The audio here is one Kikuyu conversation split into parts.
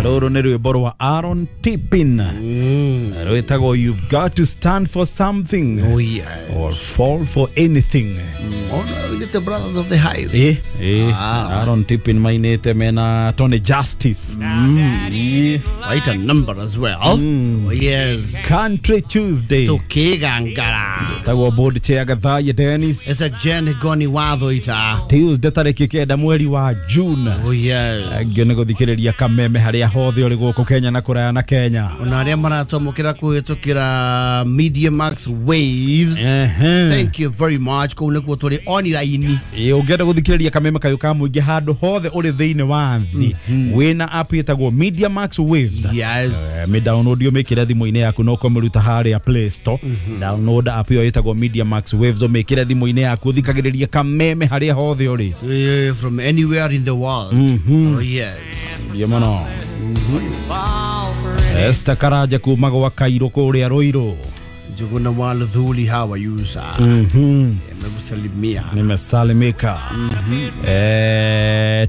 Rũrũ nĩ rwĩmbo rwa Aaron Tippin. Rwĩtagwo You've Got to Stand for Something. Oh, yes. Or Fall for Anything. Oh, no, the Brothers of the Highway. Aaron Tippin mainĩte mena Tony Justice. Quite a number as well. Oh, yes. Country Tuesday. Tukigangara. Tagwo board chair Gathaya Dennis. It's a Jen Goni watho ita. Tuesday tarĩki 9 mweri wa June. Oh, yes. Angĩ nĩ gũthikĩrĩria kameme harĩa hothe ũrĩ gũkũ Kenya na kũraya na Kenya. Ona arĩa maratwamũkĩra kũhĩtũkĩra Media Max Waves. Thank you very much. Kũu nĩkuo tũrĩ online. Ũngĩenda gũthikĩrĩria kameme kayũ ka mũingĩ handũ hothe ũrĩ thĩinĩ wa thĩ, wĩna app ĩtagwo Media Max Waves. Yes. Mĩ download ũmĩkĩre thimũ-inĩ yaku na ũkamĩruta harĩa Play Store. Download app ĩyo ĩtagwo Media Max Waves ũmĩkĩre thimũ-inĩ yaku ũthikagĩrĩrie kameme harĩa hothe ũrĩ. From anywhere in the world. Oh, yes. Ndio mũno. Esther Karanja kuma gwa Kairũ kũrĩa Ruiru. Njuguna wa Luthuli, how are you, sir? Nimekusalimia. Nimesalimika.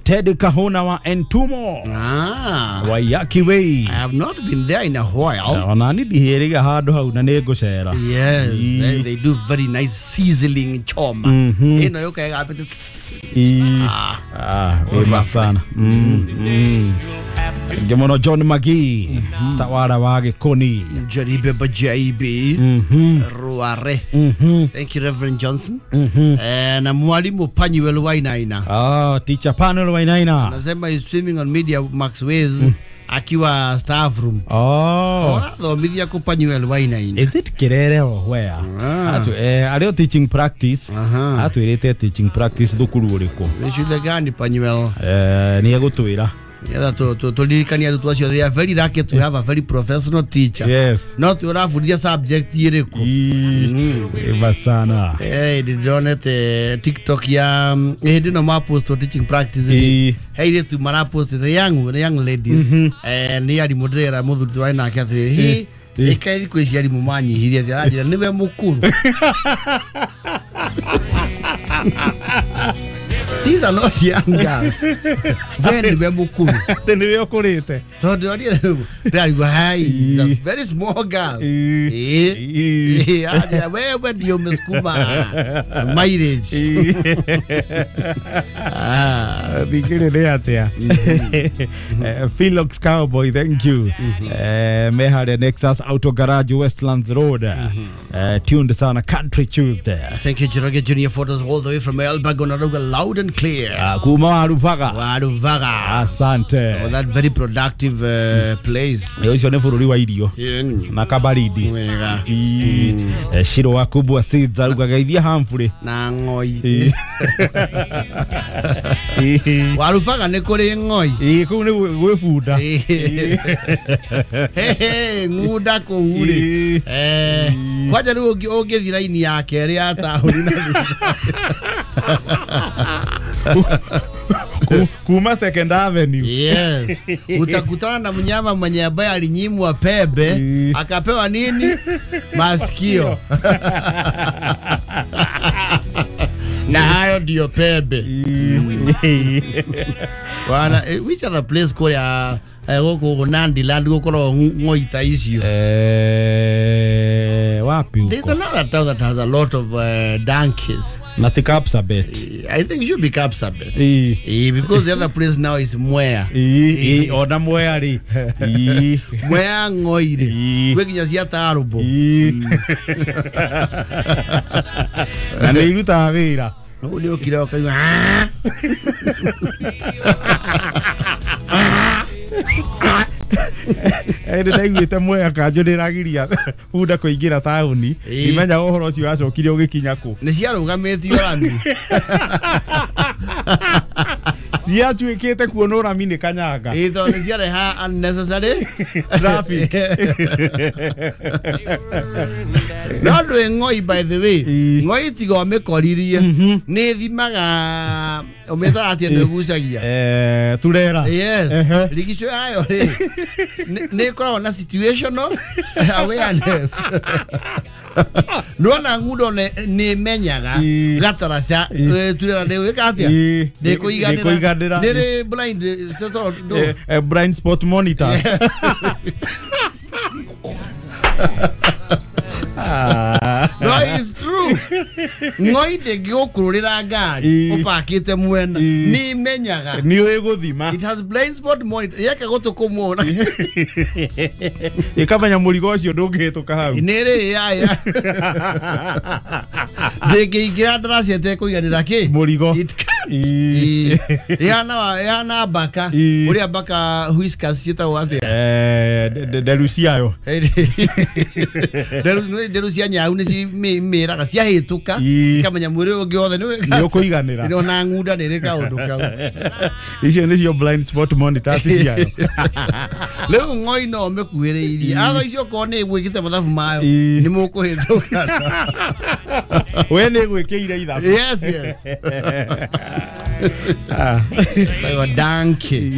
Teddy Kahuna wa Entumo. Wa Yaki Way. I have not been there in a while. Ona ni ndihĩrĩga handũ hau na nĩ ngũcera. Yes, they do very nice sizzling choma. Ĩno yũka ĩgambĩte. Wema sana. Ngĩmono John Magee, tawara wa Gĩkũni. Jaribe Bajaibi. Ruare. Thank you, Reverend Johnson. Na mwalimu Panuel Wainaina. Teacher Panuel Wainaina. Anasema is swimming on Media Max Waves akiwa staff room. Orathomithia ku Panuel Wainaina. Is it Kirere or where? Arĩo teaching practice. Atwĩrĩte teaching practice thukuru ũrĩkũ? Nĩ shule gani Panuel? Nĩ egũtwĩra. Yeah, tulirikania arutwo acio, they are very lucky to have a very professional teacher. Yes. No tũrabundithia subject ĩrĩkũ. Wema sana. Ndĩronete TikTok ya hĩndĩ ĩno mapost teaching practice. He airĩtu marapost the young ladies. Nĩ arimũ ndĩrera mũthuri twarĩ nake atĩrĩrĩ, ĩka thikũ ici arimũ manyihirie atĩ aranjĩra nĩwe mũkũrũ. These are not young girls. Then we mukuru. Then we okurite. So they are high. Very small girls. Where do you meskuma mileage? Bigire ni atia. Philox Cowboy, thank you. Mehare Nexus Auto Garage Westlands Road. Tuned sana Country Tuesday. Thank you, Jiroge Junior Photos all the way from Elbagon Aruga, loud and clear. Kuma Waruvaga. Waruvaga. Asante. Oh, that very productive place. Ũcio nĩ bũrũri wa irio na kabaridi. Shiro wa Kubwa Seeds aruga geithia Humphrey na ng'oi. Waruvaga nĩ kũrĩ ng'oi. Kũu nĩ gwĩ bunda. Ng'unda kũu rĩ. Kwanja rĩu ũngĩthiĩ raini ya kerĩ ya taũni na Kuma Second Avenue. Yes. Utakutana na mnyama mwenye ambaye alinyimwa pembe akapewa nini? Masikio. Na hayo ndio pembe. Bwana, which other place kũrĩa gũkũ Nandi Land gũkorwo ng'oi ta icio? Wapi huko? There's another town that has a lot of donkeys. Na ti Kapsabet. I think it should be Kapsabet. Because the other place now is Mwea. Ona Mwea ri. Mwea ng'oi ri. Kwĩ nginya cia tarũmbũ. Na nĩ irutaga wĩra. Ũguo nĩ ũkire ũkaigua. Ĩndĩ ndaiguĩte Mwea kanjũ nĩragiria bunda kũingĩra taũni. Ndimenya ũhoro ũcio wacokire ũgĩkinya kũ. Nĩ ciarũgamĩtio rami. Ciatuĩkĩte kuonwo rami nĩ kanyanga. Tondũ nĩ ciareha unnecessary traffic. No ndwĩ ng'oi, by the way. Ng'oi tiga ũmĩkoririe nĩ ĩthimaga ũmĩtaga atĩa nĩ ĩgucagia. Turera. Yes. Rigico yayo rĩ nĩ ĩkoragwo na situational awareness. Nona ngudo ne menyaga gataraca turera ne wika atia ne kuiganira ne blind blind spot monitors. No, it's true. Ngoi ndĩngĩgũkũrũrĩra ngari ũpakĩte mwena nĩ menyaga nĩ ũĩ gũthima. It has blind spot monitor yeke gũtũ kũmwe ĩkamenya mũrigo ũcio ndũngĩhĩtũka hau nĩ rĩ yaya ndĩngĩingĩra ndaraca ĩtekũiganĩra kĩ mũrigo. It can't. Ĩhana mbaka ũrĩa mbaka whiskers ciĩtagwo atĩa nderu ciayo nderu cia nyau nĩ cimĩraga ciahĩtũka ikamenya mwĩrĩ ũngĩ wothe nĩ ũkũiganĩra ona ng'unda nĩ ĩrĩ kaũndũ kau. Icio nĩcio blind spot monitors ciayo. Rĩu ng'oi no mĩkuhĩrĩirie atho icio okorwo nĩ ĩgwĩkĩte mathabu mayo nĩ mũkũhĩtũka. We nĩ ĩgwĩkĩire ithabu. Yes, yes. Danke.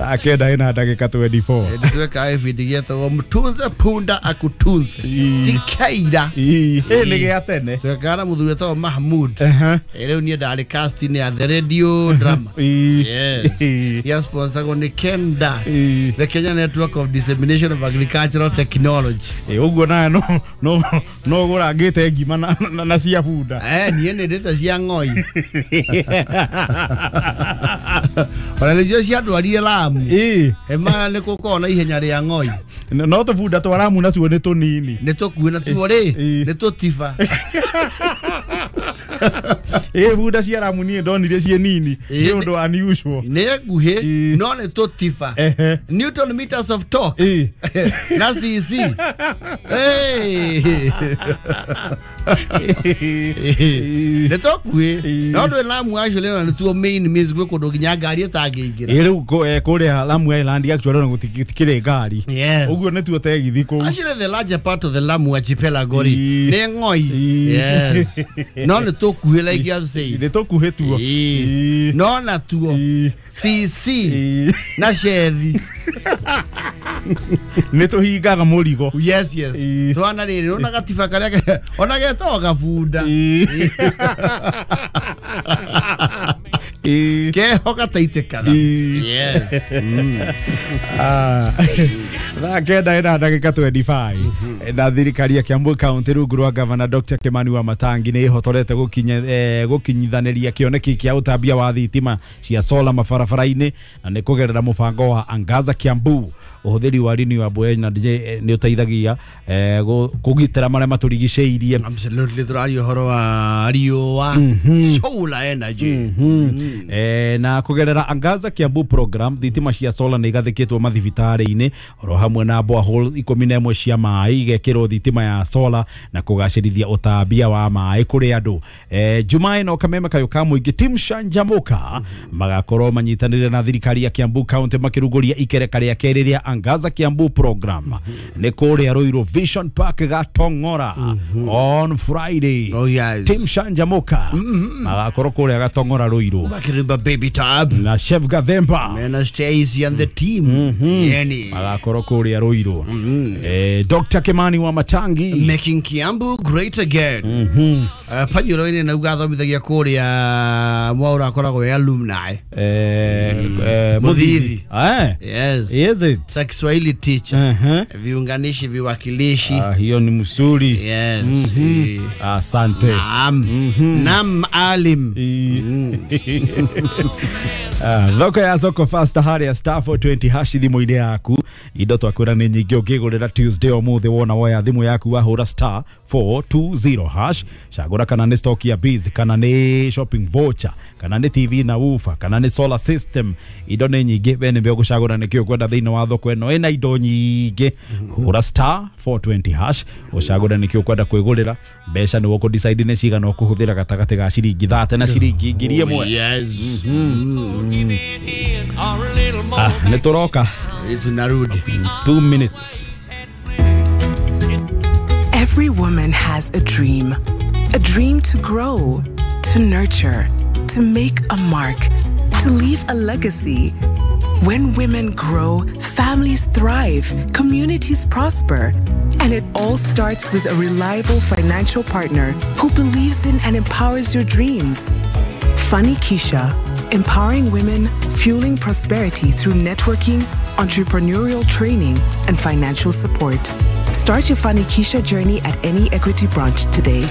Akenda ina ndagĩka 24. Ndĩtweka ibindi gĩetagwo mtunze punda akutunze tikaira nĩ gĩa tene twekana mũthuri wetagwo Mahmud. Rĩu niĩ ndarĩ casting ya the radio drama. Yes. Ya sponsor nĩ Kenda, the Kenya Network of Dissemination of Agricultural Technology. Ũguo nawe no no gũrangĩte ngima na cia bunda. Niĩ nĩ ndĩte cia ng'oi. Ona nĩcio ciandwarire Lamu. Ema nĩ gũkorwo na ihenya rĩa ng'oi. No tũbunda twa Lamu natuo nĩ tũnini. Nĩ tũkuĩ natuo rĩ nĩ tũtiba. Bunda cia Lamu niĩ ndonire ciĩ nini nĩ ũndũ unusual. Nĩ nguhĩ no nĩ tũtiba. Newton meters of torque na CC. Nĩ tũkuĩ no ndũ Lamu actually no nĩtuo main means gwĩ kũndũ nginya ngari ĩtangĩingĩra. Rĩu kũrĩa Lamu Island actually no gũtikĩrĩ ngari. Ũguo nĩtuo tegithi kũu. Actually the larger part of the Lamu archipelago rĩ nĩ ng'oi. Yes. No nĩ tũkuhĩ like you have said. Nĩ tũkuhĩ tuo. No natuo CC na shethi nĩ tũhingaga mũrigo. Yes, yes. Twana rĩrĩ ona gatiba karĩa ona getagwo gabunda. Keho gataitĩkaga. Yes. Thaa kenda ina ndagĩka 25 na thirikari ya Kiambu County rungu rwa Governor Dr. Kimani Wamatangi nĩ ĩhotorete gũkinyithanĩria kĩoneki kĩa ũtambia wa thitima cia solar mabarabara-inĩ na nĩ kũgerera mũbango wa Angaza Kiambu. Ũhũthĩri wa renewable energy nĩ ũteithagia kũgitĩra marĩa matũrigicĩirie. Absolutely, tũraria ũhoro wa riũa, solar energy. Na kũgerera Angaza Kiambu program thitima cia solar nĩ igathĩkĩtwo mathibitarĩ-inĩ oro hamwe na borehole 11 cia maĩ igekĩrwo thitima ya solar na kũgacĩrithia ũtambia wa maĩ kũrĩ andũ. Jumaa ĩno kameme kayũ ka mũingĩ Team Shanjamuka magakorwo manyitanĩire na thirikari ya Kiambu County makĩrugũria ikereka rĩa kerĩ rĩa Angaza Kiambu program nĩ kũrĩa Ruiru Vision Park Gatong'ora on Friday. Oh, yes. Team Shanjamuka magakorwo kũrĩa Gatong'ora Ruiru Makirimba Baby Tab na Chef Gathemba Mena Stacy and the team. Yani magakorwo kũrĩa Ruiru. Dr. Kimani Wamatangi making Kiambu great again. Panyuro-inĩ na ugathomithagia kũrĩa Mwaura akoragwo e alumni. Muthithi. Yes. Is it? Kiswahili teacher. Viunganishi, viwakilishi. Hiyo ni msuri. Yes. Asante. Naam. Naam alim. Thoko ya soko fasta harĩa star 420 hash thimũ-inĩ yaku indo twakwĩra nĩ nyingĩ ũngĩgũrĩra Tuesday ũmũthĩ wona woya thimũ yaku wahũra star 420 hash cagũra kana nĩ stock ya biz kana nĩ shopping voucher kana nĩ TV na woofer kana nĩ solar system indo nĩ nyingĩ we nĩwe ũgũcagũra nĩkĩ ũkwenda thĩinĩ wa thoko ĩno ĩna indo nyingĩ hũra star 420 hash ũcagũre nĩkĩ ũkwenda kwĩgũrĩra mbeca nĩwe ũkũ decide nĩ cigana ũkũhũthĩra gatagatĩ ga ciringi 30 na ciringi 1000. Yes. Nĩ tũroka. Tunarudi. 2 minutes. Every woman has a dream. A dream to grow, to nurture, to make a mark, to leave a legacy. When women grow, families thrive, communities prosper. And it all starts with a reliable financial partner who believes in and empowers your dreams. Fanikisha, empowering women, fueling prosperity through networking, entrepreneurial training, and financial support. Start your Fanikisha journey at any Equity branch today.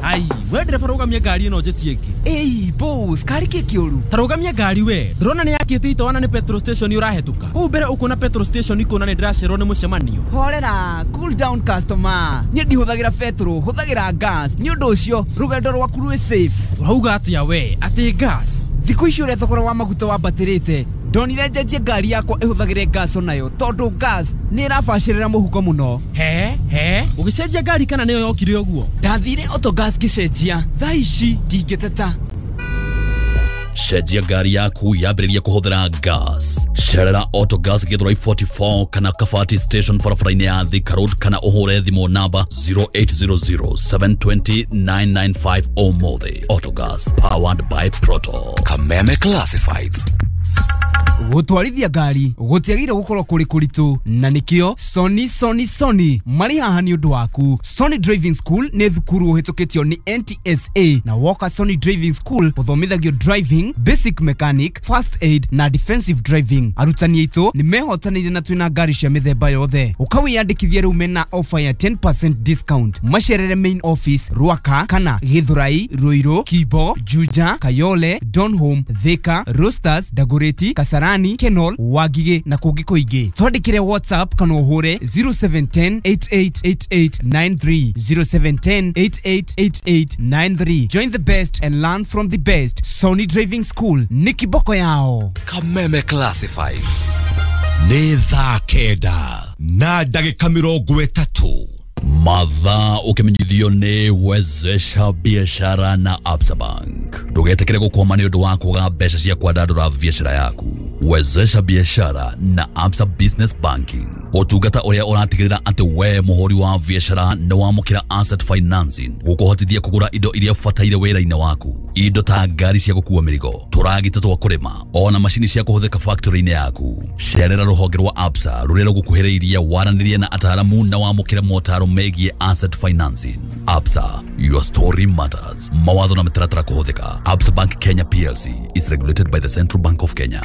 Ai, we ndereba rũgamia ngari ĩno njĩtie ĩngĩ. Ĩi boss, kari kĩ kĩũru? Ta rũgamia ngari we. Ndĩrona nĩ yakĩte itoana nĩ petrol station ũrahetũka. Kũu mbere ũkuona petrol station ikũna nĩ ndĩracererwo nĩ mũcemanio. Horera, cool down customer. Niĩ ndihũthagĩra petrol, hũthagĩra gas. Nĩ ũndũ ũcio rũgendo rwaku rwĩ safe. Ũrauga atĩa we? Atĩ gas? Thikũ ici ũrĩa thogora wa maguta wambatĩrĩte, ndonire njenjie ngari yakwa ĩhũthagĩre gas onayo tondũ gas nĩ ĩrabacĩrĩra mũhuko mũno. He he, ũgĩcenjia ngari kana nĩyo yokire ũguo? Ndathire Autogas ngĩcenjia, thaa ici ndingĩteta. Cenjia ngari yaku yambĩrĩrie kũhũthĩra gas. Cerera Autogas Githurai 44 kana Kabati station barabara-inĩ ya Thika Road kana ũhũre thimũ namba 0800 720 995 ũmũthĩ. Autogas, powered by Proto. Kameme Classifieds. Gũtwarithia ngari gũtiagĩrĩire gũkorwo kũrĩ kũritũ, na nĩkĩo Sony Sony Sony marĩ haha nĩ ũndũ waku. Sony Driving School nĩ thukuru ũhĩtũkĩtio nĩ NTSA, na woka Sony Driving School ũthomithagio driving, basic mechanic, first aid na defensive driving. Arutani aitũ nĩ mehotanĩire na twĩna ngari cia mĩthemba yothe. Ũkawĩyandĩkithia rĩu mena offer ya 10% discount. Macerere main office Ruaka kana Githurai, Ruiru, Kibo, Juja, Kayole, Donholm, Thika, Roasters, Dagoretti, Kasarani, Kenol, Wagige na kũngĩ kũingĩ. Twandĩkĩre WhatsApp kana ũhũre 0710 888893, 0710 888893. Join the best and learn from the best. Sony Driving School nĩ kiboko yao. Kameme Classifieds. Nĩ thaa 9:30. Mathaa ũkĩmenyithio nĩ Wezesha Biashara na Absa Bank. Ndũgetĩkĩre gũkwama nĩ ũndũ wa kwaga mbeca cia kwandandũra biashara yaku. Wezesha Biashara na Absa Business Banking, ũtungata ũrĩa ũratigĩrĩra atĩ we mũhũri wa biashara nĩ wamũkĩra asset financing gũkũhotithia kũgũra indo iria ũbataire wĩra-inĩ waku, indo ta ngari cia gũkua mĩrigo, tũragita twa kũrĩma, ona macini cia kũhũthĩka factory-inĩ yaku. Cerera rũhonge rwa Absa rũrĩa rũgũkuhĩrĩirie, waranĩrie na ataaramu na wamũkĩre motaro megiĩ asset financing. Absa, your story matters. Mawatho na mĩtaratara kũhũthĩka. Absa Bank Kenya PLC is regulated by the Central Bank of Kenya.